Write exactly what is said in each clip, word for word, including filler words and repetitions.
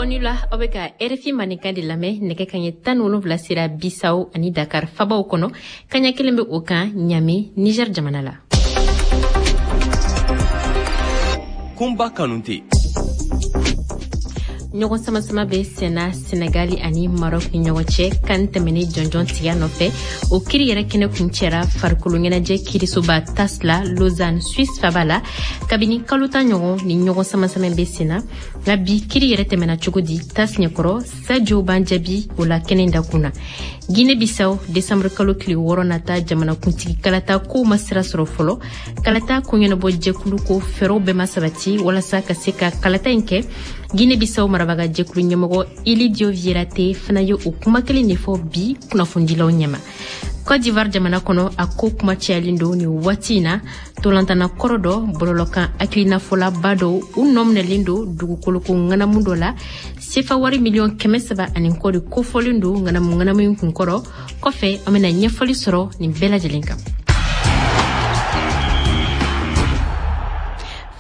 Aw ni wula, aw bɛ ka R F I Mandenkan de lamɛn. Nɛgɛ kaɲɛ tan ni wolonwula sera Bisawo ani Dakar fabaw kɔnɔ, kaɲɛ kelen bɛ o kan Ɲame, Niger jamana la. Kunba Kanute. Ɲɔgɔn samasama bɛ senna Senegali ani Maroc ni ɲɔgɔn cɛ kan tɛmɛnen jɔnjɔn tigiya nɔfɛ. O kiri yɛrɛ kɛnɛ kuncɛra farikolo ɲɛnajɛ kirisoba TAS la, Lausanne, Suisse faba la. Kabini kalo tan ɲɔgɔn ni ɲɔgɔn samasama bɛ senna, nka bi kiri yɛrɛ tɛmɛna cogo di TAS ɲɛkɔrɔ? Sajo b'an jaabi o la kɛnɛ dakun na. Guinée Bissau, décembre kalo tile wɔɔrɔ nata jamanakuntigi kalata kow ma sira sɔrɔ fɔlɔ. Kalata koɲɛnabɔ jɛkulu ko fɛɛrɛw bɛɛ ma sabati walasa ka se ka kalata in kɛ. Guinée Bissau marabaga jɛkulu ɲɛmɔgɔ Ilidio Vieira Té fana ye o kuma kelen de fɔ bi kunnafonidilaw ɲɛma. Côte d'Ivoire jamana kɔnɔ, a ko kuma cayalen don nin waati in na. Tolantana kɔrɔ dɔ, bɔlɔlɔkan hakilinafɔlaba dɔw, u nɔ minɛlen don dugukoloko ŋanamu dɔ la. Sefa wari miliyɔn kɛmɛ saba ani kɔ de kofɔlen don ŋanamu ŋanamu in kunkɔrɔ. Kɔfɛ, an bena ɲɛfɔli sɔrɔ nin bɛɛ lajɛlen kan.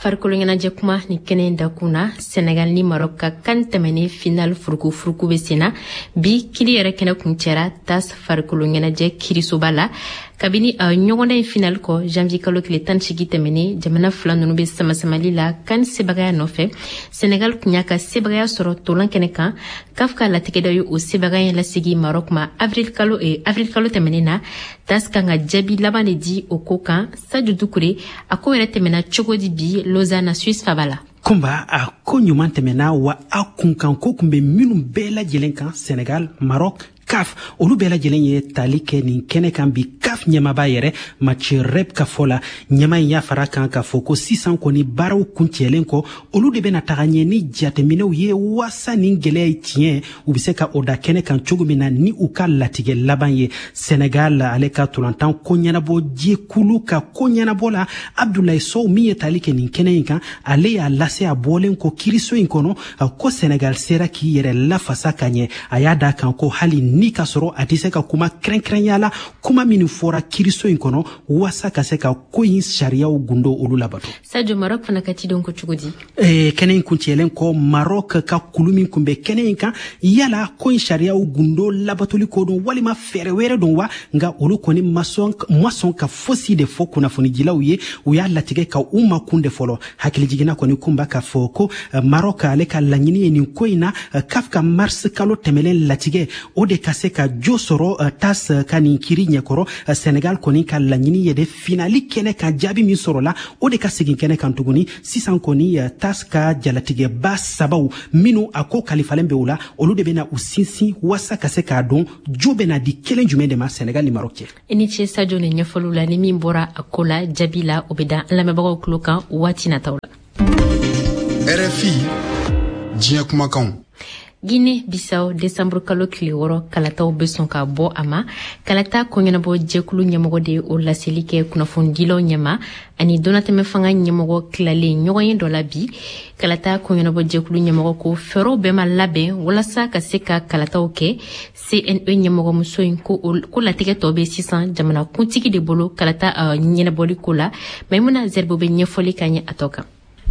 Farikolo ɲɛnajɛ kuma ni kɛnɛ dakun na, Senegal ni Maroc ka kan tɛmɛnen final furuku-furuku bɛ senna. Bi kiri yɛrɛ kɛnɛ kuncɛra TAS farikolo ɲɛnajɛ kirisoba la. Kabini a ɲɔgɔndan in final kɔ janvier kalo tile tan segi tɛmɛnen, jamana fila nunu bɛ samasamali la kan sebagaya nɔfɛ. Senegal kun y'a ka sebagaya sɔrɔ tolan kɛnɛ kan. CAF ka latigɛ dɔ ye o sebagaya in lasegi Maroc ma avril kalo eh, avril kalo tɛmɛnen na. TAS kan ka jaabi laban de di o ko kan. Sadio Dukure, a ko yɛrɛ tɛmɛna cogo di bi Lausanne, Suisse faba la? Kunba, a ko ɲuman tɛmɛna wa. A kunkan ko kun bɛ minnu bɛɛ lajɛlen kan, Senegal, Maroc, CAF, olu bɛɛ lajɛlen ye tali kɛ nin kɛnɛ kan bi. CAF ɲɛmaba yɛrɛ Mathieu Rep ka fɔ la, ɲɛma in y'a fara kan k'a fɔ ko sisan kɔni, baaraw kuncɛlen kɔ, olu de bɛna taga ɲɛ ni jateminɛw ye waasa nin gwɛlɛya ye tiɲɛ, u be se ka o da kɛnɛ kan cogo min na ni u ka latigɛ laban ye. Senegal ale ka tolantan ko ɲɛnabɔ jɛkulu ka ko ɲɛnabɔ la, Abdoulaye Sow min ye tali kɛ nin kɛnɛ in kan, ale y'a lase a bɔlen kɔ kiriso in kɔnɔ ko Senegal sera k'i yɛrɛ lafasa ka ɲɛ. A y'a da kan ko hali ni ka sɔrɔ a tɛ se ka kuma kɛrɛnkɛrɛnya la, kuma minnu fɔra kiriso in kɔnɔ waasa ka se ka ko in sariyaw gundo olu labato. Sadio, Maroc fana ka cidenw ko cogo di? eh, kɛnɛ in kuncɛlen kɔ, Maroc ka kulu min kun bɛ kɛnɛ in kan, yala ko in sariyaw gundo labatoli ko don walima fɛɛrɛ wɛrɛ don wa, nka olu kɔni ma sɔn ka fosi de fɔ kunnafonidilaw ye. U y'a latigɛ ka u makun de fɔlɔ. Hakilijiginna kɔni, kunba, k'a fɔ ko Maroc ale ka laɲini ye nin ko in na, CAF ka mars kalo tɛmɛlen latigɛ, o de ka se ka jo sɔrɔ TAS ka nin kiri ɲɛkɔrɔ. Senegal kɔni ka laɲini ye de finali kɛnɛ kan, jaabi min sɔrɔla, o de ka segin kɛnɛ kan tuguni. Sisan kɔni, TAS ka jalatigɛba sabaw minnu a ko kalifalen bɛ o la, olu de bɛna u sinsin waasa ka se k'a dɔn jo bɛna di kelen jumɛn de ma Senegal ni Maroc cɛ. I ni ce Sadio ni ɲɛfɔliw la. Ni min bɔra a ko la jaabi la, o bɛ da an lamɛnbagaw tulo kan waati nataw la. R F I, diɲɛ kumakanw. Guinée Bissau, décembre kalo tile wɔɔrɔ kalataw bɛ sɔn ka bɔ a ma. Kalata koɲɛnabɔ jɛkulu ɲɛmɔgɔ de ye o laseli kɛ kunnafonidilaw ɲɛma ani donnatɛmɛ fanga ɲɛmɔgɔ tilalen ɲɔgɔn ye dɔ la bi. Kalata koɲɛnabɔ jɛkulu ɲɛmɔgɔ ko fɛɛrɛw bɛɛ ma labɛn walasa ka se ka kalataw kɛ. C N E ɲɛmɔgɔmuso in ko, ko latigɛ tɔ bɛ sisan jamana kuntigi de bolo kalata uh, ɲɛnabɔli ko la. Maimuna Zerbo bɛ ɲɛfɔli ka ɲɛ a tɔ kan.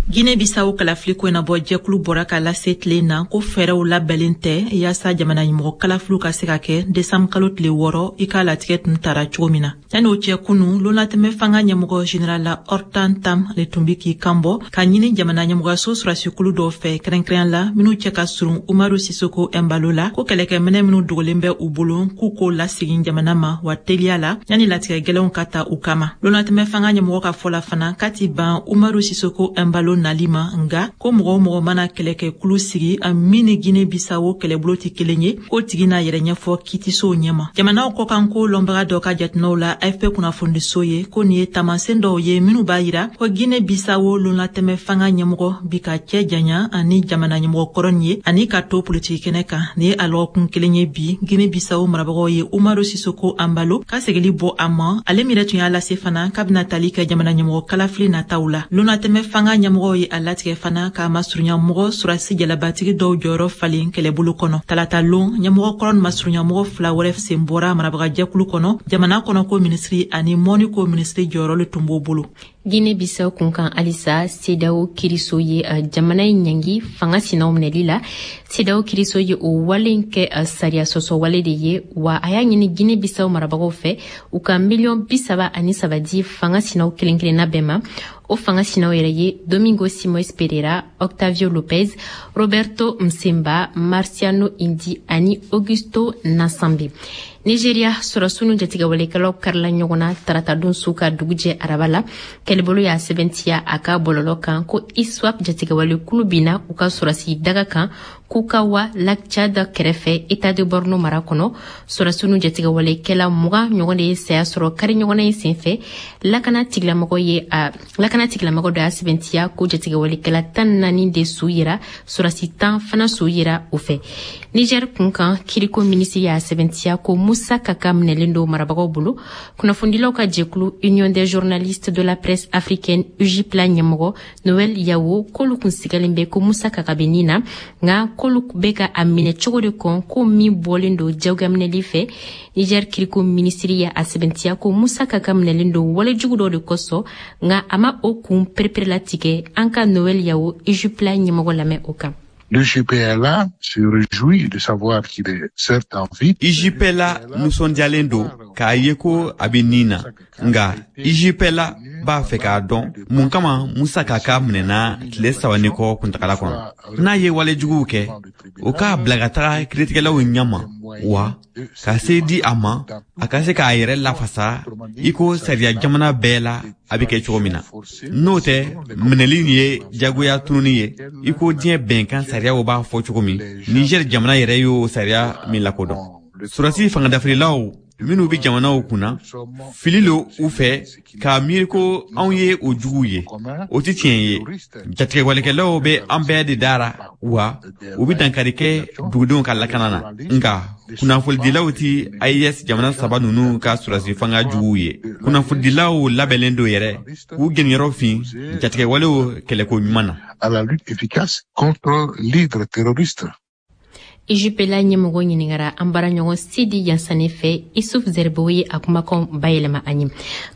Guinée Bissau kalafili koɲɛnabɔ jɛkulu bɔra ka lase tile na ko fɛɛrɛw labɛnlen tɛ yaasa jamana ɲɛmɔgɔ kalafiliw ka se ka kɛ desanbu kalo tile wɔɔrɔ, i k'a latigɛ tun tara cogo min na. Yanni o cɛ, kunu lonatɛmɛ fanga ɲɛmɔgɔ général Arthur Ntam le tun bi k'i kanbɔ ka ɲini jamana ɲɛmɔgɔyaso sɔrɔdasikulu dɔw fɛ, kɛrɛnkɛrɛnya la minw cɛ ka surun Umaru Sisoko Embalo la, ko kɛlɛkɛminɛ minw dogolen bɛ u bolo, k'u k'o lasegin jamana ma wa teliya la, yanni latigɛ gwɛlɛnw ka ta u kama. Lonatɛmɛ fanga ɲɛmɔgɔ ka fɔ la fana k'a ti ban Umaru Sisoko Embalo nali ma, nga ko mɔgɔ o mɔgɔ mana kɛlɛkɛkulu sigi a min ni Guinée Bissau kɛlɛbolo tɛ kelen ye, k'o tigi n'a yɛrɛ ɲɛfɔ kiitisow ɲɛma. Jamanaw kɔkanko lɔnbaga dɔ ka jateminɛw la A F P kunnafonidiso ye ko nin ye tamasen dɔw ye minw b'a yira ko Guinée Bissau lonlatɛmɛ fanga ɲɛmɔgɔ bi ka cɛ janya ani jamana ɲɛmɔgɔ kɔrɔ nin ye ani ka to politiki kɛnɛ kan. Nin ye a lɔgɔkun kelen ye bi Guinée Bissau marabagaw ye Umaru Sisoko Embalo ka segili bɔ a ma, ale min yɛrɛ tun y'a lase fana k'a bɛna tali kɛ jamana ɲɛmɔgɔ kalafili nataw la. Lonatɛmɛ fanga ɲɛmɔgɔw ye a latigɛ fana k'a masurunya mɔgɔ surasi jalabatigi dɔw jɔyɔrɔ falen kɛlɛbolo kɔnɔ. Talata lon, ɲɛmɔgɔ kɔrɔ ni masurunya mɔgɔ fila wɛrɛ sen bɔra marabagajɛkulu kɔnɔ. Jamana kɔnɔ ko minisiri ani mɔni ko minisiri jɔyɔrɔ le tun b'o bolo. Guinée Bissau kunkan halisa, CEDEAO kiriso ye jamana in ɲangi fanga sinaw minɛli la. CEDEAO kiriso ye o wale in kɛ sariya sɔsɔ wale de ye, wa a y'a ɲini Guinée Bissau marabagaw fɛ u ka miliyɔn bi saba ani saba di fanga sinaw kelen kelenna bɛɛ ma. O fanga sinaw yɛrɛ ye Domingo Simoes Pereira, Octavio Lopez, Roberto Msemba, Marciano Indi ani Augusto Nasambe. Nigeria sɔrɔsiw ni jatigɛwalekɛlaw karila ɲɔgɔn na taratadon su ka dugujɛ araba la. Kɛlɛbolo y'a sɛbɛntiya a ka bɔlɔlɔ kan ko ISWAP jatigɛwalekulu binna u ka sɔrɔsi daga kan Kukawa Lac Tchad kɛrɛfɛ, État de Borno mara kɔnɔ. Sɔrɔsiw ni jatigɛwalekɛla mugan ɲɔgɔn de ye saya sɔrɔ kari ɲɔgɔnna in senfɛ. Lakana tigilamɔgɔ ye a lakana tigilamɔgɔ dɔ y'a sɛbɛntiya ko jatigɛwalekɛla tan naani de su yera, sɔrɔsi tan fana su yera o fɛ. Niger kunkan, kiriko minisiri y'a sɛbɛntiya ko Moussa Kaka minɛlen don marabagaw bolo. Kunnafonidilaw ka jɛkulu Union des journalistes de la presse africaine, U J P L A ɲɛmɔgɔ Noël Yawo k'olu kun sigalen bɛ ko Moussa Kaka bɛ nin na, nka k'olu bɛ ka a minɛ cogo de kɔn ko min bɔlen don jagoyaminɛli fɛ. Niger kiriko minisiri ye a sɛbɛntiya ko Moussa Kaka minɛlen don walejugu dɔ de kosɔn, nka a ma o kun pereperelatigɛ. An ka Noël Yawo, U J P L A ɲɛmɔgɔ lamɛn o kan. L'U J P L A se réjouit de savoir qu'il est certes en vie. U J P L A nisɔndiyalen don k'a ye ko a bɛ nin na, nka U J P L A b'a fɛ k'a dɔn mun kama Musa Kaka minɛna tile saba ni kɔ kuntagala kɔnɔ. N'a ye walejuguw kɛ, o k'a bila ka taga kiiritigɛlaw ɲɛma, wa ka se di a ma a ka se k'a yɛrɛ lafasa i ko sariya jamana bɛɛ la a bɛ kɛ cogo min na. N'o tɛ, minɛli ye jagoya tununi ye i ko diɲɛ bɛnkan sariyaw b'a fɔ cogo min, Niger jamana yɛrɛ y'o sariya min lakodɔn. Sɔrɔdasi fangadafirilaw minnu bɛ jamanaw kunna, fili lo u fɛ k'a miiri ko anw ye o juguw ye. O tɛ tiɲɛ ye. Jatigɛwalekɛlaw bɛ an bɛɛ de dara, wa u bɛ dankari kɛ dugudenw ka lakana na, nka kunnafonidilaw ti A E S jamana saba ninnu ka sɔrɔdasi fanga juguw ye. Kunnafonidilaw labɛnnen don yɛrɛ k'u jeniyɔrɔ fin jatigɛwalew kɛlɛko ɲuman na. À la lutte efficace contre l'hydre terroriste. U J P L A ɲɛmɔgɔ ɲiningara an baaraɲɔgɔn Sidi Yansane fɛ. Isuf Zerbo ye a kumakan bayɛlɛma an ye.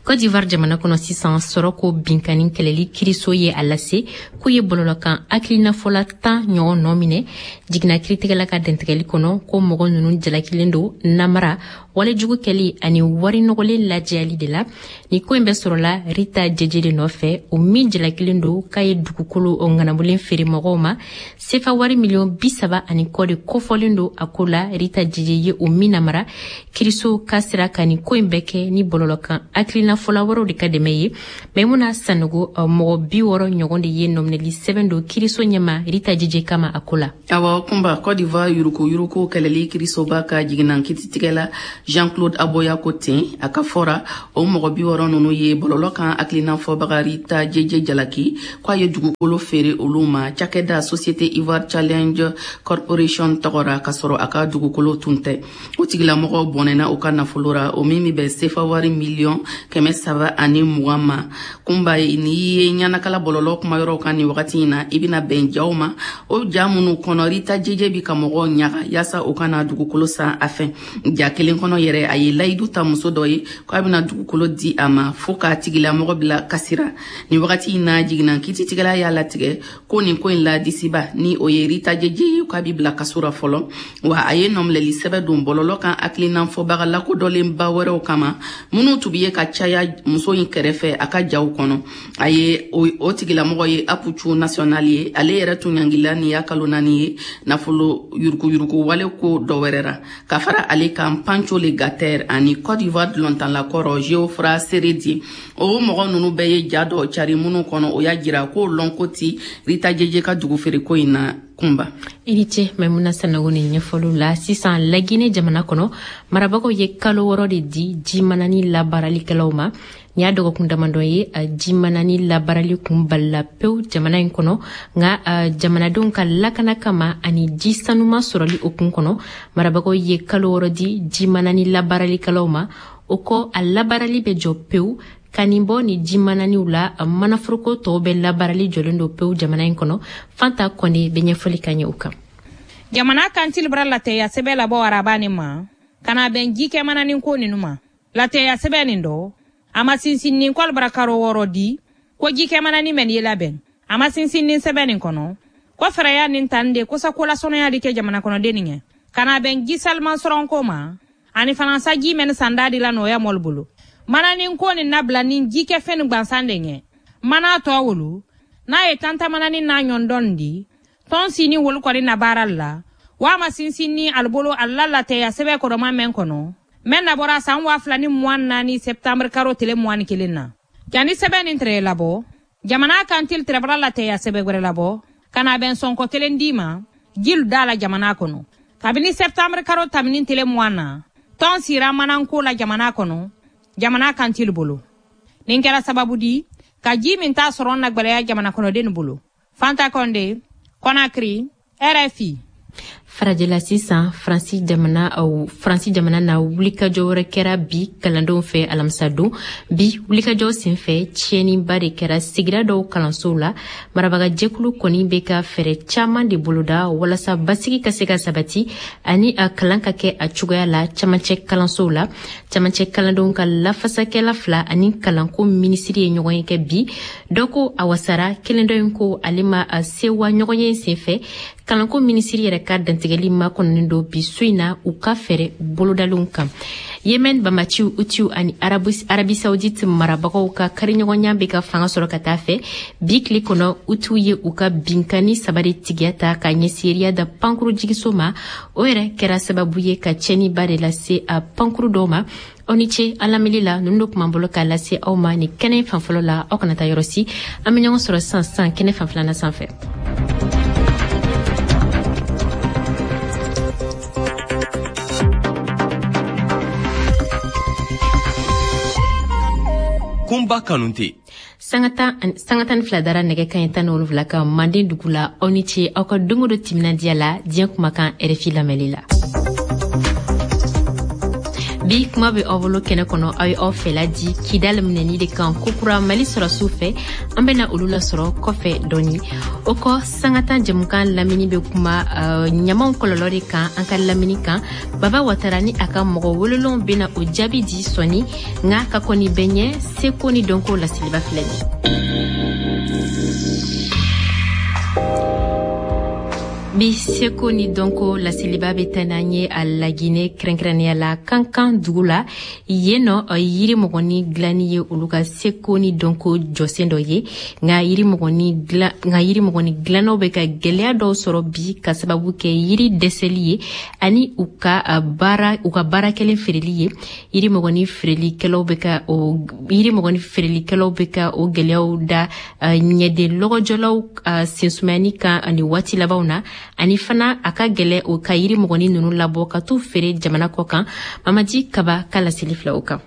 Côte d'Ivoire jamana kɔnɔ sisan, sɔrɔ ko binkani kɛlɛli kiriso ye a lase k'u ye bɔlɔlɔkan hakilinafɔla tan ɲɔgɔn nɔ minɛ jiginna kiritigɛla ka dɛntigɛli kɔnɔ, ko mɔgɔ ninnu jalakilen don namara, walejugu kɛli ani wari nɔgɔlen lajɛyali de la. Ni ko in bɛ sɔrɔla Rita Jeje de nɔfɛ, o min jalakilen don k'a ye dugukolo ŋanamulen feere mɔgɔw ma sefa wari miliyɔn bi saba ani kɔ de kofɔlen don a ko la. Rita Jeje ye o min namara, kiriso ka sira ka nin ko in bɛɛ kɛ ni bɔlɔlɔkan hakilinafɔla wɛrɛw de ka dɛmɛ ye. Maimuna Sanogo, mɔgɔ bi wɔɔrɔ ɲɔgɔn de ye nɔminɛli sɛbɛn don kiriso ɲɛma Rita Jeje kama a ko la. Awa Kunba, Côte d'Ivoire yuruku yuruku kɛlɛli kirisoba ka jiginna kititigɛla Jean-Claude Aboya ko ten. A ka fɔra, o mɔgɔ bi wɔɔrɔ ninnu ye bɔlɔlɔ kan hakilina fɔbaga Rita Jeje jalaki ko a ye dugukolo feere olu ma cakɛda Société Ivoire Challenge Corporation tɔgɔ ra, k'a sɔrɔ a ka dugukolo tun tɛ. O tigilamɔgɔ bɔnɛna u ka nafolo ra, o min bɛ bɛn sefa wari miliyɔn kɛmɛ saba ani mugan ma. Kunba, n'i ye ɲanakala bɔlɔlɔ kumayɔrɔw kan nin wagati in na, i bɛna bɛn jaw ma, o ja minnu kɔnɔ Rita Jeje bi ka mɔgɔw ɲaga yaasa u kana dugukolo san a fɛ. Ja kelen kɔnɔ yɛrɛ, a ye layidu ta muso dɔ ye ko a bɛna dugukolo di a ma, fo k'a tigilamɔgɔ bila kasira. Nin wagati in na, jiginna kititigɛla y'a latigɛ ko nin ko in la disiba ni o ye Rita Jeje ye, k'a bi bila kaso ra fɔlɔ, wa a ye nɔminɛli sɛbɛ don bɔlɔlɔ kan hakilina fɔbaga lakodɔnlenba wɛrɛw kama minnu tun bi ye ka caya muso in kɛrɛfɛ a ka jaw kɔnɔ. A ye o tigilamɔgɔ ye Apucu National ye. Ale yɛrɛ tun ɲangila nin y'a kalo naani ye nafolo yuruguyurugu wale ko dɔ wɛrɛ ra. Ka fara ale kan, Pancho Le Gater ani Côte d'Ivoire dɔlɔntanlakɔrɔ Geoffroy Seredi, o mɔgɔ ninnu bɛɛ ye ja dɔ cari minnu kɔnɔ o y'a jira k'o lɔnko ti Rita Jeje ka dugu feereko in na. Kunba. I ni ce Maimuna Sanogo ni ɲɛfɔliw la. Sisan, Lagine jamana kɔnɔ, marabagaw ye kalo wɔɔrɔ de di jimanani labaaralikɛlaw ma. Nin y'a dɔgɔkun damadɔ ye jimanani labaarali kun balila pewu jamana in kɔnɔ, nka jamanadenw ka lakana kama ani ji sanuma sɔrɔli o kun kɔnɔ, marabagaw ye kalo wɔɔrɔ di jimanani labaaralikɛlaw ma. O kɔ, a labaarali bɛ jɔ pewu. Ka nin bɔ ni jimananiw la, manaforoko tɔw bɛ labaarali jɔlen don pewu jamana in kɔnɔ. Fanta Kɔnde bɛ ɲɛfɔli ka ɲɛ o kan. Jamana kantili bara latɛya sɛbɛ labɔ araba nin ma ka na bɛn ji kɛ mananin ko ninu ma. Latɛya sɛbɛ nin dɔ, a ma sinsinnin kɔli bara karo wɔɔrɔ di. Ko jikɛmanani mɛn ye labɛn a ma sinsin nin sɛbɛn nin kɔnɔ ko fɛɛrɛya nin tan de kosa kolasɔnɔya di kɛ jamana kɔnɔden nin ɲɛ ka na bɛn ji saliman sɔrɔnko ma ani fana sa ji mɛn sanda di la nɔgɔya mɔli bolo mananin ko nin nabila nin jikɛfɛn nin gansan de ɲɛ mana tɔ wolo n'a ye tantamananin n'a ɲɔndɔn di tɔn sini wolu kɔni na baara la wa ma sinsin ni alibolo ala latɛya sɛbɛn kɔrɔma mɛn kɔnɔ mɛn nabɔra san waa fila ni mugan naani sɛptanbiri karo tile mugan ni kelen na jani sɛbɛn nin tɛrɛ labɔ jamana kantil tɛrɛbara latɛya sɛbɛn wɛrɛ labɔ ka na bɛn sɔnkɔ kelen d'i ma jilu da la jamana kɔnɔ kabini sɛptanbiri karo tamini tile mugan na tɔn sira mananko la jamana kɔnɔ jamana kantil bolo nin kɛra sababu di ka ji min t'a sɔrɔ na gwɛlɛya jamana kɔnɔden bolo. Fanta Konde, Conakry, R F I. Farajɛla sisan Faransi jamana aw Faransi jamana na wulikajɔ wɛrɛ kɛra bi kalandenw fɛ alamisadon. Bi wulikajɔ senfɛ tiɲɛniba de kɛra sigida dɔw kalansow la. Marabagajɛkulu kɔni bɛ ka fɛɛrɛ caman de boloda walasa basigi ka se ka sabati ani a kalan ka kɛ a cogoya la camancɛ kalansow la. Camancɛ kalandenw ka lafasakɛla fila ani kalanko minisiri ye ɲɔgɔn ye kɛ bi. Dɔ ko a wasara, kelen dɔ in ko ale ma a sewa ɲɔgɔn ye senfɛ. Kalanko minisiri yɛrɛ ka dantigɛli makɔnɔnen don bi su in na u ka fɛɛrɛ bolodalenw kan. Yemen bamaciw utiw ani Arabi Saoudite marabagaw ka kariɲɔgɔnya bɛ ka fanga sɔrɔ ka taa fɛ. Bi tile kɔnɔ utiw ye u ka binkani saba de tigiya ta ka ɲɛsin Riyad pankuru jigiso ma. O yɛrɛ kɛra sababu ye ka tiɲɛniba de lase a pankuru dɔw ma. Aw ni ce an lamɛnli la, ninnu de tun b'an bolo k'a lase aw ma nin kɛnɛ fan fɔlɔ la. Aw kana taa yɔrɔ si, an bɛ ɲɔgɔn sɔrɔ sisan sisan kɛnɛ fan filanan sanfɛ. Kunba Kanute. Sanga tan ni fila dara nɛgɛ kaɲɛ tan ni wolonwula kan Manden dugu la. Aw ni ce aw ka don o don timinandiya la diɲɛ kumakan R F I lamɛnli la. Bi kuma bɛ aw bolo kɛnɛ kɔnɔ, aw ye aw fɛla di Kidal minɛni de kan kokura Mali sɔrɔsiw fɛ. An bɛna olu lasɔrɔ kɔfɛ dɔɔni. O kɔ sanga tan jɛmukan lamini bɛ kuma uh, ɲamanw kɔlɔlɔ de kan an ka lamini kan. Baba Watara ni a ka mɔgɔ welelenw bɛna o jaabi di sɔɔni, nka ka kɔni bɛɛ ɲɛ seko ni dɔnko laseliba filɛ nin ye. Bi seko ni dɔnko laseliba bɛ taa n'an ye a Laginɛ, kɛrɛnkɛrɛnnenya la Kankan dugu la. Yen nɔ yiri mɔgɔni dilanni ye olu ka seko ni dɔnko jɔsen dɔ ye. Nka yiri mɔgɔni dilan nka yiri mɔgɔni dilannaw bɛ ka gɛlɛya dɔw sɔrɔ bi ka sababu kɛ yiri dɛsɛli ye ani u ka baara u ka baara kɛlen feereli ye. Yiri mɔgɔni feerelikɛlaw bɛ ka o yiri mɔgɔni feerelikɛlaw bɛ ka o gɛlɛyaw da ɲɛden lɔgɔjɔlaw sensumayani kan ani waati labanw na. Ani fana a ka gɛlɛ o ka yiri mɔgɔni ninnu labɔ ka t'u feere jamana kɔ kan. Mamadi Kaba ka laseli fila o kan.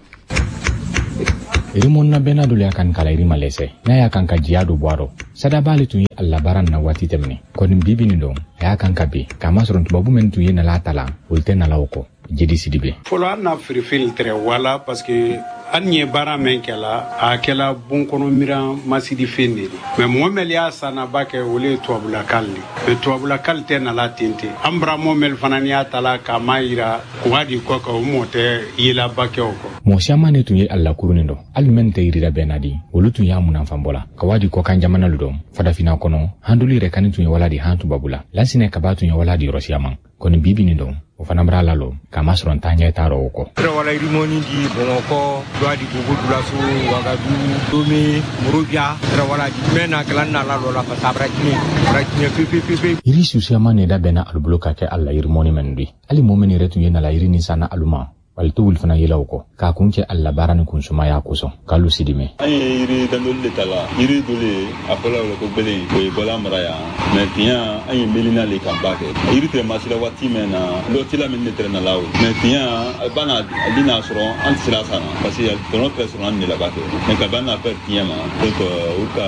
Irimonna bɛna dolu y'a kan kala irima lɛsɛ n'a y'a kan ka jiya do bɔ a rɔ. Sadaba ale tun ye a labaara nin na waati tɛmɛnen kɔni bibi nin dɔn a y'a kan ka bi k'a masɔrɔ tubabu minnu tun ye nala ta la olu tɛ nala o kɔ. Jeli Sidibe. Fɔlɔ an na feerefɛn tɛrɛ wala parce que an ye baara min kɛla a kɛla bon kɔnɔ miran masidi fɛn de ye. Mais mɔgɔ mɛli y'a sanaba kɛ olu ye tubabulakali de. Mais tubabulakali tɛ nala ten ten. An bara mɔ mɛli fana n'i y'a ta la k'a ma yira k'u di kɔ kan o mɔ tɛ yelaba kɛ o kɔ. Mɔgɔ siyaman de tun ye a lakurunin dɔ hali mɛn tɛ yirida bɛɛ na di olu tun y'a munanfanbɔ la ka waa di kɔkan jamana lu dɔn farafinna kɔnɔ handulu yɛrɛ kani tun ye wala di han tubabula lansinɛ kaba tun ye wala di yɔrɔ siyaman kɔni bibi nin dɔn o fana bara la lɔ k'a masɔrɔ n t'a ɲɛ t'a rɔ o kɔ. Wala yirimɔni di Bamakɔ dɔ di Bobo Dioulasso Wagadugu Lomé Monrovia wala di mɛ na kɛla na la lɔ la parce que a bara tiɲɛ a bara tiɲɛ pepe pepe. Yiri susiyaman de dabɛnna alu bolo ka kɛ a la yirimɔni mɛnu di hali mɔɔ min yɛrɛ tun ye nala yiri nin sanna alu ma wali to wuli fana yela o kɔ k'a kun cɛ a labaara ni kunsumaya kosɔn k'alu sidimɛ. An ye yiri dandoli de ta la yiri dole a fɔla o la ko gbelen o ye bɔla mara yan mɛ tiɲɛ an ye melina le kan ba kɛ yiri tɛrɛ masira waati mɛn na lɔtila min de tɛrɛ nala o mɛ tiɲɛ a ba na a di n'a sɔrɔ an tɛ sira san na parce que tɔnɔ tɛrɛ sɔrɔ an de la ba kɛ mɛ ka ban n'a fɛ tiɲɛ ma donc o ka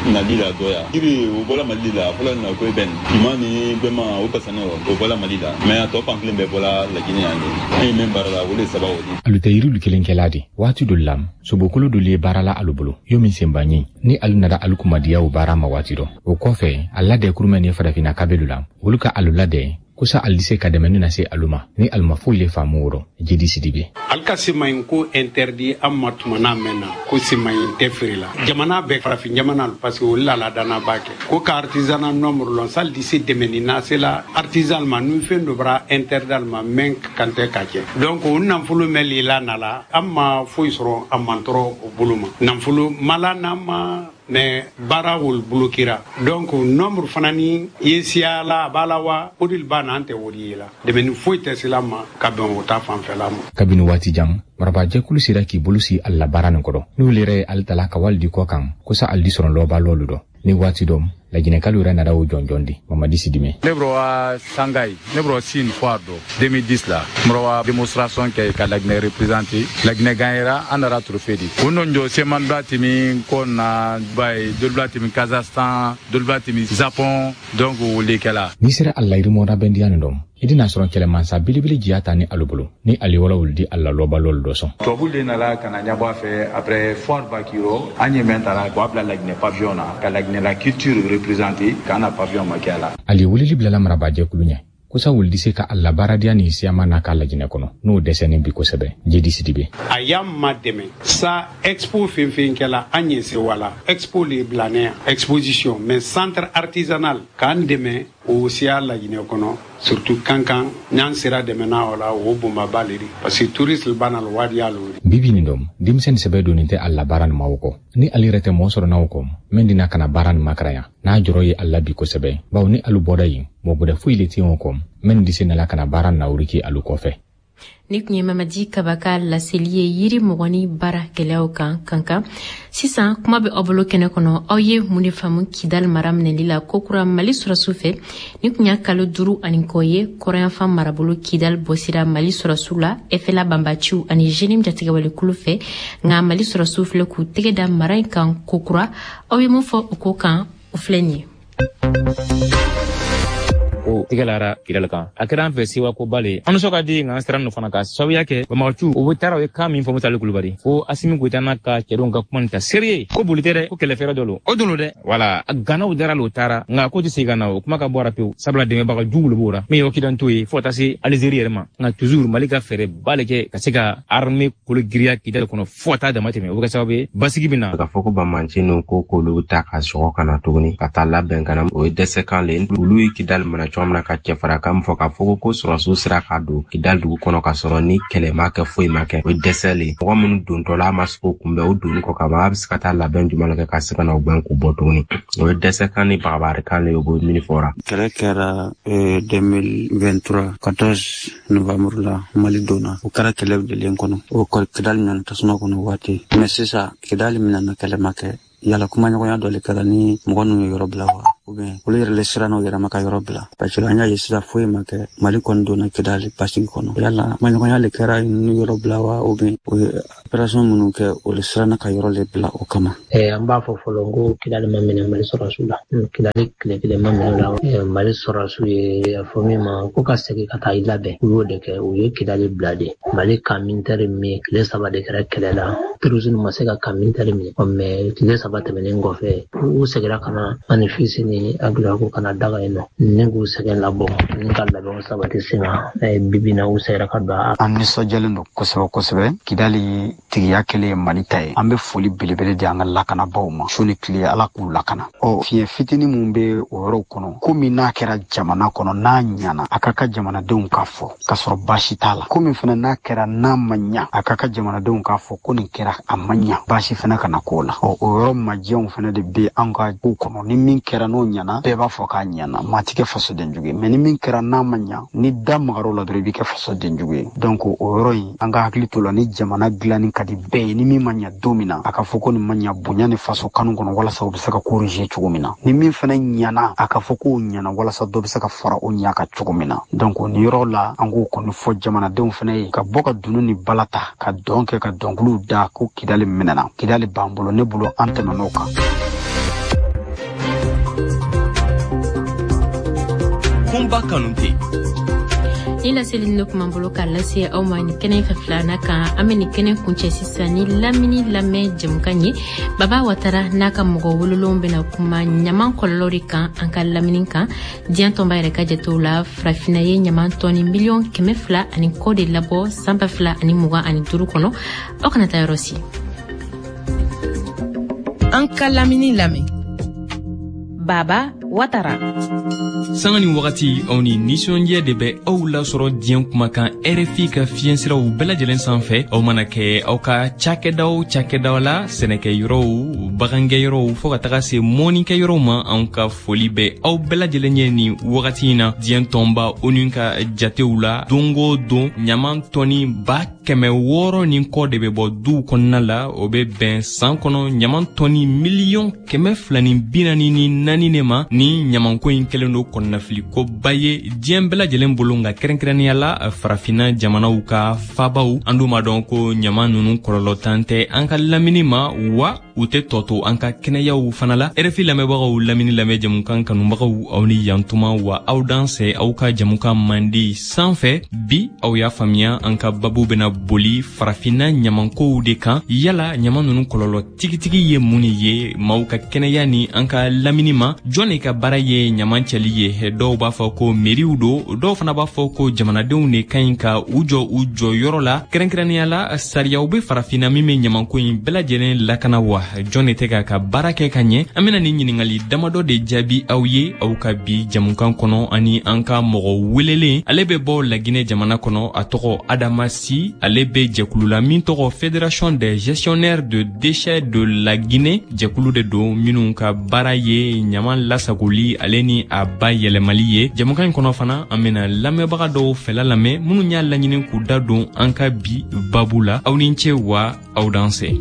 nali la dɔ ya yiri o bɔla Mali la a fɔla na ko bɛn finman ni gbɛman o pasane o bɔla Mali la mɛ a tɔ fan kelen bɛɛ bɔla Laginɛ yan de an ye min baara la o alu tɛ yirilu kelen kɛla de waati dɔ la sobokolo dolu ye baara la alu bolo yo min senba ɲi ni alu nana alu kumadiya o baara ma waati dɔ o kɔfɛ a ladɛ kurumɛ ni farafinna kabelu la olu ka alu ladɛ ko sa ali se ka dɛmɛni na se alu ma ni alu ma foyi le faamu o rɔ. Jedi Sidibe. Ali ka semayin ko interdit an ma tumana mɛn na ko semayin tɛ feere la jamana bɛɛ farafin jamana parce que olu la ladana b'a kɛ ko ka artisanat nombre lɔn sali di se dɛmɛni na se la artisan ma ni fɛn dɔ bara interdit ma mɛn kan tɛ ka kɛ donc o nafolo mɛn lila na la an ma foyi sɔrɔ a mantɔrɔ o bolo ma nafolo mala n'an ma mais baara wol bloquera donc nombre fana ni ye siya la a b'a la wa o de b'a na an tɛ o de ye la dɛmɛni foyi tɛ se la ma ka bɛn o ta fanfɛla ma. Kabini waati jan marabajɛkulu sera k'i bolo si ali la baara nin kɔrɔ n'olu yɛrɛ ye ali tala ka wali di kɔ kan ko sa ali di sɔrɔ lɔba lɔlu dɔ ni waati dɔ laginɛkalu yɛrɛ nana o jɔnjɔn di. Mamadi Sidime. Ne bɔra wa Sangayi, ne bɔra Sine foire dɔ deux mille dix la n bɔra wa démonstration kɛ ka Laginɛ représenter. Laginɛ gagnera, an nana trophée di. O nɔ jɔ seman bila timi ko na ba ye dolu bila timi Kazakhstan, dolu bila timi Japon, donc o le kɛla. N'i sera a layirimɔ bɛndiya nin dɔn i dina sɔrɔ kɛlɛmansa belebele jiya ta ni alu bolo ni ali wala wuli di ala lɔba lɔlu dɔ sɔn. Tubabu le nana ka na ɲɛbɔ a fɛ après foire ba k'i rɔ an ye mɛn ta la k'a bila Laginɛ pavillon na ka Laginɛ la culture représenter k'an na pavillon ma kɛ a la. Ali weleli bilala marabajɛkulu ɲɛ kosa wuli di se ka a labaaradiya ni siyama n'a ka Laginɛ kɔnɔ n'o dɛsɛnen bi kosɛbɛ. Jedi Sidibe. A y'an ma dɛmɛ sa expo fɛn fɛn kɛla an ye sewa la expo le bilanɛ yan exposition mais centre artisanal k'an dɛmɛ o siya Laginɛ kɔnɔ surtout Kankan n'an sera dɛmɛna o la o bonbaba le di parce que touriste ba na wadiya lo. Bibi nin dɔm denmisɛnnin sɛbɛ donnen tɛ a la baara nin ma o kɔ ni ale yɛrɛ tɛ mɔɔ sɔrɔ n'aw kɔ mɛn dina ka na baara nin makara yan n'a jɔrɔ ye a la bi kosɛbɛ bawo ni alu bɔra yen mɔgɔ gbɛdɛ foyi le tɛ yen o kɔ mɛn di se nala ka na baara nawuriki alu kɔfɛ. Ni tun ye Mamadi Kaba ka laseli ye yiri mɔgɔni baara gɛlɛyaw kan Kankan. Sisan kuma bɛ aw bolo kɛnɛ kɔnɔ, aw ye mun de faamu Kidal mara minɛli la kokura Mali sɔrɔsiw fɛ? Ni tun y'a kalo duuru ani kɔ ye kɔrɔyanfan marabolo Kidal bɔsira Mali sɔrɔsiw la F L A banbaciw ani J N I M jatigɛwalekulu fɛ, nka Mali sɔrɔsiw filɛ k'u tɛgɛ da mara in kan kokura. Aw ye mun fɔ o ko kan? O filɛ nin ye. O tigɛlara Kidali kan, a kɛra an fɛ sewa ko ba le. An nisɔn ka di nka an siran fana ka sababuya kɛ banbagaciw o bɛ taara o ye kan min fɔ Musali Kulubali fo Asimi Goyita n'a ka cɛdenw ka kuma nin ta sérieux ko boli tɛ dɛ, ko kɛlɛfɛɛrɛ dɔ lo o don dɛ. Wala a ganaw dara o taara nka ko tɛ segin ka na o kuma ka bɔ a pewu, sabula dɛmɛbaga jugu le b'o la min ye Occidentaux ye fo ka taa se Algérie yɛrɛ ma. Nka toujours Mali ka fɛɛrɛ ba le kɛ ka se ka armée kolo giriya Kidali kɔnɔ fo ka taa dama tɛmɛ, o bɛ kɛ sababu ye basigi bɛ na. Ka fɔ ko banbanci ninnu ko k'olu ta ka sɔgɔ ka na tuguni ka taa labɛn ka na, o ye dɛsɛkan le. Olu ye Kidali mana cogo min na ka cɛfarakan fɔ k'a fɔ ko sɔrɔsiw sera ka don Kidali dugu kɔnɔ ka sɔrɔ ni kɛlɛ ma kɛ foyi ma kɛ, o ye dɛsɛ le. Mɔgɔ minnu dontɔla a ma se k'o kunbɛn, o donni kɔ ka ban, a bɛ se ka taa labɛn jumɛn kɛ ka se ka na o gbɛn k'u bɔ tuguni? O ye dɛsɛkan ni bagabarikan le ye, o bɛ min fɔra. Kɛlɛ kɛra deux mille vingt-trois quatorze novembre la, Mali donna, o kɛra kɛlɛ delen kɔnɔ, o Kidali minɛna tasuma kɔnɔ waati. Mais sisan Kidali minɛna, kɛlɛ ma kɛ. Yala kumaɲɔgɔnya dɔ le kɛra ni mɔgɔ ninnu ye yɔrɔ bila wa, ou bien olu yɛrɛ le siranna u yɛrɛ ma ka yɔrɔ bila? Parce que an y'a ye sisan foyi ma kɛ, Mali kɔni donna Kidali basigi kɔnɔ. Yala kumaɲɔgɔnya le kɛra ninnu yɔrɔ bila wa, ou bien o ye opération minnu kɛ, o le siranna ka yɔrɔ le bila o kama? An b'a fɔ fɔlɔ ko Kidali ma minɛ Mali sɔrɔsiw la. Kidali tile kelen ma minɛ la. Mali sɔrɔsiw ye a fɔ min ma ko ka segin ka taa i labɛn, u y'o de kɛ, u ye Kidali bila de. Mali camp militaire min, tile saba de kɛra kɛlɛ la, terrorisme ma se ka camp militaire minɛ, mais tile saba tɛmɛnen kɔfɛ u seginna ka na manifeste ni agilako kana daga yen nɔ ni k'u sɛgɛn labɔ ni ka labɛnw sabati sen kan. Bibi na u seginna ka don. An nisɔndiyalen don kosɛbɛ kosɛbɛ. Kidali tigiya kɛlen ye Mali ta ye, an bɛ foli belebele di an ka lakanabaw ma su ni tile, Ala k'u lakana. Ɔ fiɲɛ fitinin mun bɛ o yɔrɔw kɔnɔ, ko min n'a kɛra jamana kɔnɔ n'a ɲana, a ka ka jamanadenw k'a fɔ k'a sɔrɔ baasi t'a la. Ko min fana n'a kɛra n'a ma ɲa, a ka ka jamanadenw k'a fɔ ko nin kɛra a ma ɲa, baasi fana kana k'o la. Ɔ o yɔrɔ majɛnw fana de bɛ an ka ko kɔnɔ. Ni min kɛra n'o ɲana, bɛɛ b'a fɔ k'a ɲana, maa ti kɛ fasoden jugu ye. Mais ni min kɛra n'a ma ɲa, ni da magar'o la dɔrɔn, i bɛ kɛ fasoden jugu ye. Donc o yɔrɔ in, an ka hakili to la. Ni jamana dilanni ka di bɛɛ ye, ni min ma ɲa don min na, a ka fɔ ko nin ma ɲa bonya ni faso kanu kɔnɔ walasa u bɛ se ka corriger cogo min na. Ni min fana ɲana, a ka fɔ k'o ɲana walasa dɔ bɛ se ka fara o ɲa kan cogo min na. Donc nin yɔrɔ la, an k'o kɔni fɔ jamanadenw fana ye ka bɔ ka dunun ni bala ta ka dɔn kɛ ka dɔnkiliw da ko Kidali minɛna. Kidali b'an bolo, ne bolo an tɛmɛn'o kan. Kunba Kanute. Ni laseli ne kuma bolo k'a lase aw ma nin kɛnɛ fɛ filanan kan. An bɛ nin kɛnɛ kuncɛ sisan ni lamini lamɛn jɛmukan ye. Baba Watara n'a ka mɔgɔ wololenw bɛna kuma ɲaman kɔlɔlɔ de kan an ka lamini kan. Diɲɛ tɔnba yɛrɛ ka jatew la, farafinna ye ɲaman tɔni miliyɔn kɛmɛ fila ani kɔ de labɔ san ba fila ani mugan ani duuru kɔnɔ. Aw kana taa yɔrɔ si. An ka lamini lamɛn. Baba Watara. Sanga ni wagati aw ni nisɔndiya de bɛ aw lasɔrɔ diɲɛ kumakan R F I ka fiɲɛsiraw bɛɛ lajɛlen sanfɛ. Aw mana kɛ aw ka cakɛda o cakɛda la, sɛnɛkɛyɔrɔw, bagangɛyɔrɔw, fɔɔ ka taga se mɔnikɛyɔrɔw ma, anw ka foli bɛ aw bɛɛ lajɛlen ye nin wagati in na. Diɲɛ tɔnba ONU ka jatew la, don o don ɲaman tɔni ba kɛmɛ wɔɔrɔ ni kɔ de bɛ bɔ duw kɔnɔna la. O bɛ bɛn san kɔnɔ ɲaman tɔni miliyɔn kɛmɛ fila ni bi naani ni naani de ma. Ni ɲamanko in kɛlen don kɔnɔnafilikoba ye diɲɛ bɛɛ lajɛlen bolo, nka kɛrɛnkɛrɛnnenya la farafinna jamanaw ka fabaw. An dun b'a dɔn ko ɲaman ninnu kɔlɔlɔ tan tɛ an ka lamini ma, wa u tɛ tɔ to an ka kɛnɛyaw fana la. R F I lamɛnbagaw, lamini lamɛn jamukan kanubagaw, aw ni yantuma wa aw dansɛ aw ka jamukan mandi sanfɛ. Bi aw y'a faamuya, an ka babu bɛna boli farafinna ɲamankow de kan. Yala ɲaman ninnu kɔlɔlɔ tigitigi ye mun ye maaw ka kɛnɛya ni an ka lamini ma? Jɔn de ka baara ye ɲaman cɛli ye? Dɔw b'a fɔ ko meriw don, dɔw fana b'a fɔ ko jamanadenw de ka ɲi ka u jɔ u jɔyɔrɔ la. Kɛrɛnkɛrɛnnenya la, sariyaw bɛ farafinna min bɛ ɲamanko in bɛɛ lajɛlen lakana wa? Jɔn de tɛ k'a ka baara kɛ ka ɲɛ? An bɛna nin ɲininkali damadɔ de jaabi aw ye aw ka bi jamukan kɔnɔ, ani an ka mɔgɔ welelen. Ale bɛ bɔ Laginɛ jamana kɔnɔ, a tɔgɔ Adama Si. Ale bɛ jɛkulu la min tɔgɔ Fédération des gestionnaires de déchets de la Guinée. Jɛkulu de don minnu ka baara ye ɲaman lasagoli ale ni a bayɛlɛmali ye. Jamukan in kɔnɔ fana, an bɛna lamɛnbaga dɔw fɛla lamɛn minnu y'a laɲini k'u da don an ka bi babu la. Aw ni ce wa aw dansɛ.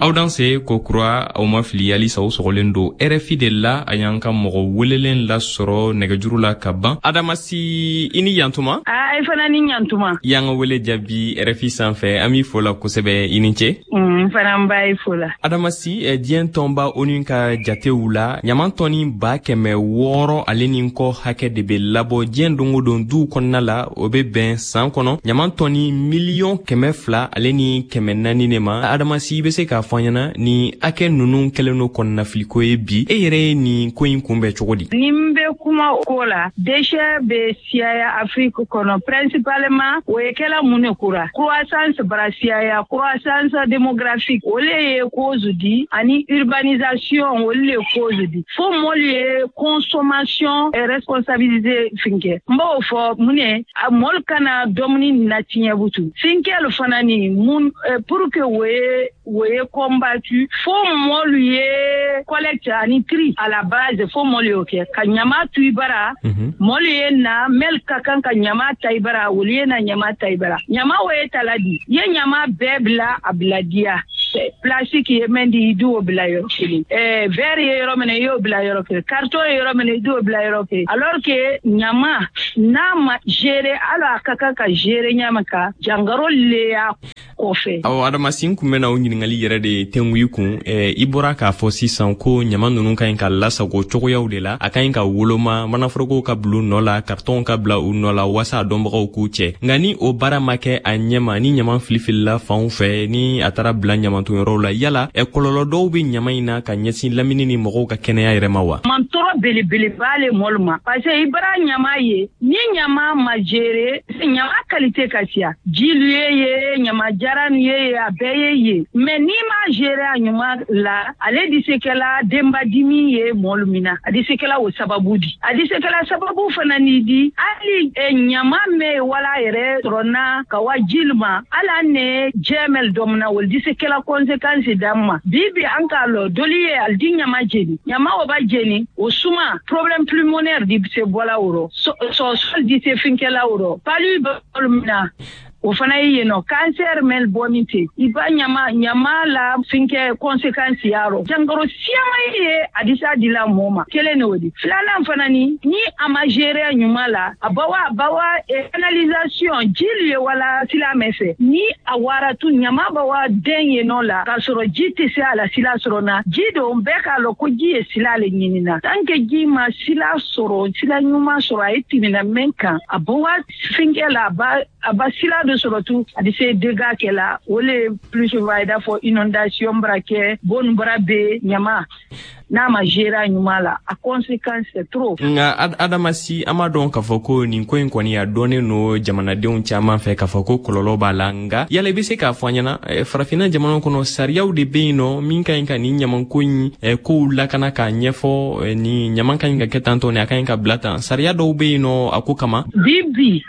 Aw danse ko kura, aw ma fili, halisa aw sɔgɔlen don R F I de la. A y'an ka mɔgɔ welelen lasɔrɔ nɛgɛjuru la ka ban. Adama Si, i ni yantuma. A i fana ni yantuma. I y'an ka wele jaabi R F I sanfɛ, an b'i fo la kosɛbɛ, i ni ce. N fana n b'a fo la. Adama Si, diɲɛ tɔnba ONU ka jatew la, ɲaman tɔni ba kɛmɛ wɔɔrɔ ale ni kɔ hakɛ de bɛ labɔ diɲɛ don o don duw kɔnɔna la. O bɛ bɛn san kɔnɔ ɲaman tɔni miliyɔn kɛmɛ fila ale ni kɛmɛ naani de ma. Adama Si, i bɛ se k'a fɔ ɲɛna ni hakɛ ninnu kɛlen don kɔnɔnafiliko ye bi, e yɛrɛ ye nin ko in kunbɛn cogo di? Ni n bɛ kuma o ko la, déchet bɛ siyaya Afrique kɔnɔ principalement o ye kɛla mun de kura croissance bara siyaya, croissance démographique o le ye cause di, ani urbanisation o le ye cause di. Fo mɔlu ye consommation responsabilisée finkɛ. N b'o fɔ mun ye, a mɔlu kana dumuni natiɲɛ butu finkɛlu fana ni mun pour que o ye o ye combattu, fo mɔlu ye collecte ani tri à la base, fo mɔlu y'o kɛ ka ɲama tu i bara. Mɔlu ye na mɛli ka kan ka ɲama ta i bara, olu ye na ɲama ta i bara. Ɲama o ye tala di, i ye ɲama bɛɛ bila a bila diya. Plastique ye mɛn di, i d'o bila yɔrɔ kelen. Ɛɛ verre ye yɔrɔ min na, i y'o bila yɔrɔ kelen. Carton ye yɔrɔ min na, i d'o bila yɔrɔ kelen. Alors que ɲama n'a ma gérer, hali a ka kan ka gérer ɲama kan, jangaro le y'a kɔfɛ. Awɔ, Adama Si, n kun bɛna o ɲininkali yɛrɛ de tengu i kun. I bɔra k'a fɔ sisan ko ɲama ninnu ka ɲi ka lasago cogoyaw de la, a ka ɲi ka woloma, manaforokow ka bila u nɔ la, kartɔnw ka bila u nɔ la, walasa a dɔnbagaw k'u cɛ. Nka ni o baara ma kɛ a ɲɛma, ni ɲama filifilila fanw fɛ, ni a taara bila ɲamanton yɔrɔw la, yala kɔlɔlɔ dɔw bɛ ɲama in na ka ɲɛsin lamini ni mɔgɔw ka kɛnɛya yɛrɛ ma wa? Mantɔrɔ belebeleba le mɔlu ma, parce que i bara ɲama ye, ni ɲama ma gérer, ɲama qualité ka siya, jilu ye ye, ɲama jaran ye ye, a bɛɛ ye ye. Mais n'i ma gérer a ɲuman la, ale di se kɛla denbadimi ye mɔlu min na, a di se kɛla o sababu di. A di se kɛla sababu fana ni di, hali ɲama mɛ wala yɛrɛ sɔrɔ na ka wa jilu ma, hali ne jɛmɛl dɔ min na, olu di se kɛla conséquence d'an ma. Bi bi an k'a lɔ doli ye ali di ɲama jeni, ɲama o ba jeni o suma problème pulmonaire di se bɔla o rɔ, sɔsɔli di se finkɛla o rɔ, palu bɛ olu min na. O fana ye yen nɔ cancer mɛn bɔnin ten i ba ɲama ɲama la finkɛ conséquence y'a rɔ jankaro siyaman ye a di s'a dila mɔɔ ma kelen de o di. Filanan fana ni ni a ma gérer ɲuman la a bawa bawa canalisation ji ye wala sila mɛn fɛ ni a wara tu ɲama bawa den yen nɔ la k'a sɔrɔ ji tɛ se a la sila sɔrɔ na ji don bɛɛ k'a lɔn ko ji ye sila le ɲinina tant que ji ma sila sɔrɔ sila ɲuman sɔrɔ a ye tɛmɛna mɛn kan a bawa finkɛ la a ba a ba sila dɔ sɔrɔ tu a di se dégâts kɛ la o le plus souvent i n'a fɔ inondation bara kɛ bon bara bɛ ɲama n'a ma gérer ɲuman la a conséquence c'est trop. Nka Adama Si, an b'a dɔn k'a fɔ ko nin ko in kɔni a dɔnnen no jamanadenw caman fɛ k'a fɔ ko kɔlɔlɔ b'a la, nka yala i bɛ se k'a fɔ an ɲɛna farafinna jamanaw kɔnɔ sariyaw de bɛ yen nɔ min ka ɲi ka nin ɲamanko in kow lakana k'a ɲɛfɔ ni ɲaman ka ɲi ka kɛ tan tɔ ni a ka ɲi ka bila tan, sariya dɔw bɛ yen nɔ a ko kama? Bi bi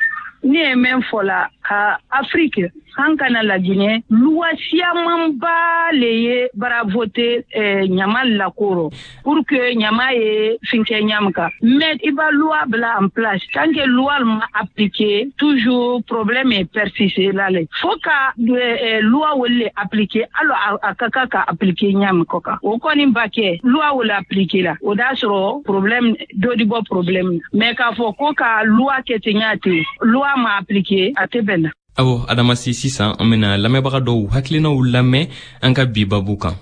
ne ye mɛn fɔ la ka Afrique an kana Laginɛ loi siyamanba le ye bara voter eh, ɲama lakoro pour que ɲama ye finkɛ ɲam kan, mais i ba loi bila en place tant que loi ma appliqué toujours problème est persisté la le faut ka eh, loi wole appliqué alors a ka kan ka appliqué ɲam kɔ kan o kɔni ba kɛ loi wole appliqué la o d'a sɔrɔ problème dɔ di bɔ problème mais k'a fɔ ko ka loi kɛ ten ɲa ten loi ma appliqué a tɛ bɛn na. Awɔ Adama Si, sisan an bena lamɛnbaga dɔw hakilinaw lamɛn an ka bi babu kan.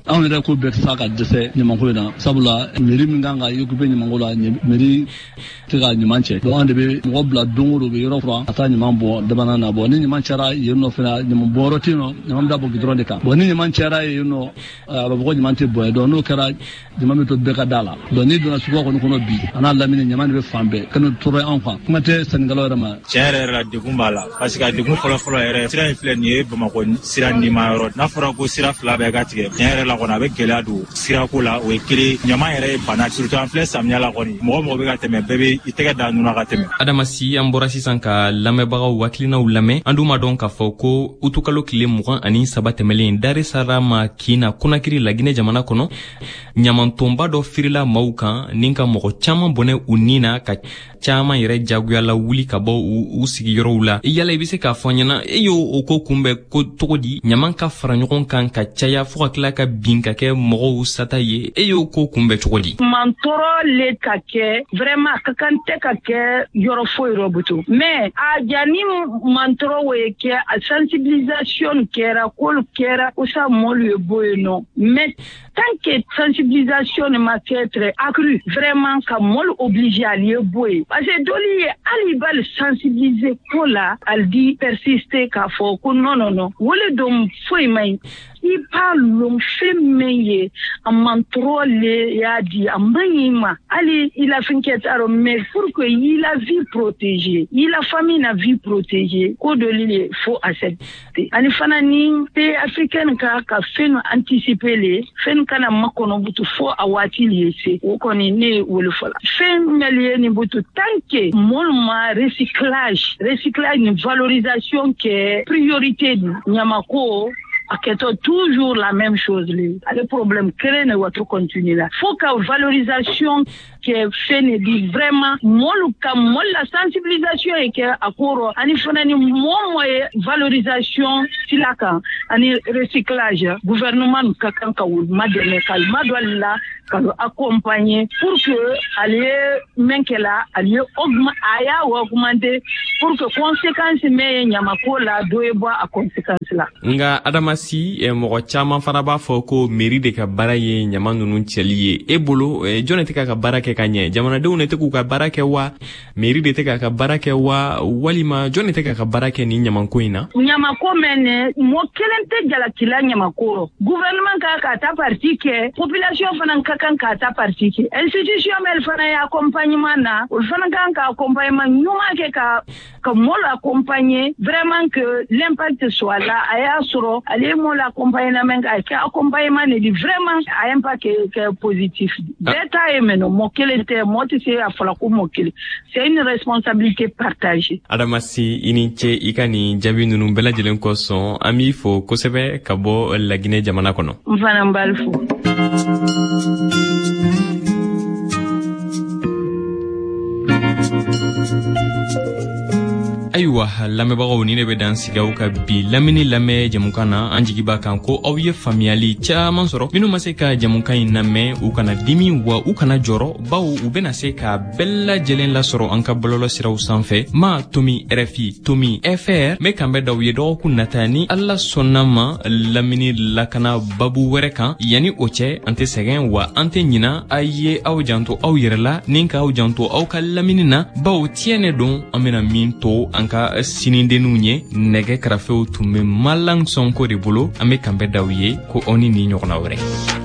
Anw yɛrɛ ko bɛɛ tɛ ka dɛsɛ ɲamanko in na, sabula mairie min kan ka occupé ɲamanko la, mairie tɛ ka ɲaman cɛ. Donc an de bɛ mɔgɔ bila don o don, u bɛ yɔrɔ furan ka taa ɲaman bɔ dabana na. Bon ni ɲaman cayara yen nɔ fana, ɲaman bɔyɔrɔ tɛ yen nɔ, ɲaman bɛ taa bɔ goudron de kan. Bon ni ɲaman cayara yen nɔ, a bɛ fɔ ko ɲaman tɛ bɔn yen. Donc n'o kɛra, ɲaman bɛ to bɛɛ ka da la. Donc n'i donna suguba kɔni kɔnɔ bi, a n'a lamini ɲaman de bɛ fan bɛɛ, ka n'o tɔɔrɔ anw kan, kuma tɛ sannikɛlaw yɛrɛ ma. Tiɲɛ yɛrɛ yɛrɛ la, degun b'a la, parce que a degun fɔlɔ-fɔlɔ yɛrɛ, sira in filɛ nin ye Bamakɔ sira nima yɔrɔ. N'a fɔra ko sira fila bɛɛ ka tigɛ, tiɲɛ yɛrɛ la kɔni a bɛ gɛlɛya don sirako la, o ye kelen. Ɲaman yɛrɛ ye bana, surtout an filɛ samiya la kɔni, mɔgɔ mɔgɔ bɛ ka tɛmɛ, bɛɛ bɛ i tɛgɛ da nun ka tɛmɛ. Adama Si, an bɔra sisan ka lamɛnbagaw hakilinaw lamɛn. An dun b'a dɔn k'a fɔ ko utukalo tile mugan ani saba tɛmɛlen Dar es Salaam kin na Konakiri Laginɛ jamana kɔnɔ, ɲamantonba dɔ firila maaw kan ni ka mɔgɔ caman bɔnɛ u ni na, ka caman yɛrɛ jagoyala wuli ka bɔ u sigiyɔrɔw la. Yala i bɛ se k'a fɔ an ɲɛna, e y'o o ko kunbɛn ko cogo di? Ɲaman ka fara ɲɔgɔn kan ka caya fo ka tila ka bin ka kɛ mɔgɔw sata ye, e y'o ko kunbɛn cogo di? Mantɔɔrɔ le ka kɛ vraiment a ka kan tɛ ka kɛ yɔrɔ foyi rɔ butu, mais a jani mantɔɔrɔ o ye kɛ, a sensibilisation kɛra, k'olu kɛra kosa mɔlu ye bɔ yen nɔ, mais tant que sensibilisation ma kɛ très accrue vraiment ka mɔlu obligé ali ye bɔ yen, parce que dɔli ye hali i b'ale sensibiliser ko la, ali di persister k'a fɔ ko non non non, o le don foyi man ɲi. I b'a lɔn fɛn min ye a mantɔɔrɔ le y'a di, a man ɲi ma hali i la fɛn kɛ t'a rɔ, mais pour que i la vie protéger, i la famille na vie protéger, ko dɔ le faut accepter. Ani fana ni pays africaine ka ka fɛn anticiper le fɛn kana makɔnɔ butu fo a waati le ye se, o kɔni ne ye wele fɔla. Fɛn mɛli ye nin butu tant que mɔlu ma recyclage recyclage ni valorisation kɛ priorité di ɲamako a kɛtɔ toujours la même chose le ale problème kelen ne wato continue la, faut ka valorisation kɛ fɛn ne di vraiment mɔlu ka mɔlu la sensibilisation ye kɛ a ko rɔ, ani fana ni mɔɔ mɔ ye valorisation sila kan ani recyclage, gouvernement ka kan ka olu madɛmɛ ka ma don ale la ka accompagner pour que ale ye mɛn kɛ la, ale ye a y'a augmenter pour que conséquence mɛn ye ɲamako la dɔ ye bɔ a conséquence la. Nka Adama Si, mɔgɔ caman fana b'a fɔ ko mairie de ka baara ye ɲama ninnu cɛli ye. E bolo jɔn de tɛ k'a ka baara kɛ ka ɲɛ? Jamanadenw de tɛ k'u ka baara kɛ wa? Mairie de tɛ k'a ka baara kɛ wa? Walima jɔn de tɛ k'a ka baara kɛ nin ɲamanko in na? Ɲamako mɛn ne mɔgɔ kelen tɛ jalakila ɲamako rɔ. Gouvernement ka k'a ta parti kɛ, population fana ka kan k'a ta parti kɛ, institution mɛl fana ye accompagnement na, olu fana kan ka accompagnement ɲuman kɛ ka ka mɔlu accompagner vraiment que l'impact soit là. A y'a sɔrɔ ale ye mɔlu accompagner mɛn ka kɛ accompagnement ne di vraiment a impact kɛ positif. Bɛɛ ta ye mɛn mɔgɔ kelen tɛ, mɔgɔ tɛ se a fɔla ko mɔgɔ kelen, c'est une responsabilité partagée. Adama Si, i ni ce i ka nin jaabi ninnu bɛɛ lajɛlen kosɔn, an b'i fo kosɛbɛ ka bɔ Laginɛ jamana kɔnɔ. N fana n b'ali fo. Ayiwa. Ayiwa lamɛnbagaw, ni ne bɛ dan sigi aw ka bi lamini lamɛn jɛmukan na. An jigi b'a kan ko aw ye faamuyali caman sɔrɔ. Minnu ma se ka jɛmukan in lamɛn, u kana dimi wa u kana jɔrɔ, bawo u bɛna se k'a bɛɛ lajɛlen lasɔrɔ an ka bɔlɔlɔ siraw sanfɛ, ma tomi R F I tomi F R. N bɛ kanbɛn d'aw ye dɔgɔkun nata, ni Ala sɔnna ma, lamini lakana babu wɛrɛ kan. Yanni o cɛ, an tɛ sɛgɛn wa an tɛ ɲina. A ye aw janto aw yɛrɛ la ni k'aw janto aw ka lamini na, bawo tiɲɛ don, an bɛna min to an ka sinidenninw ye. Nɛgɛ karafew tun bɛ Malang Sɔnko de bolo. An bɛ kanbɛn d'aw ye ko aw ni nin ɲɔgɔnna wɛrɛ.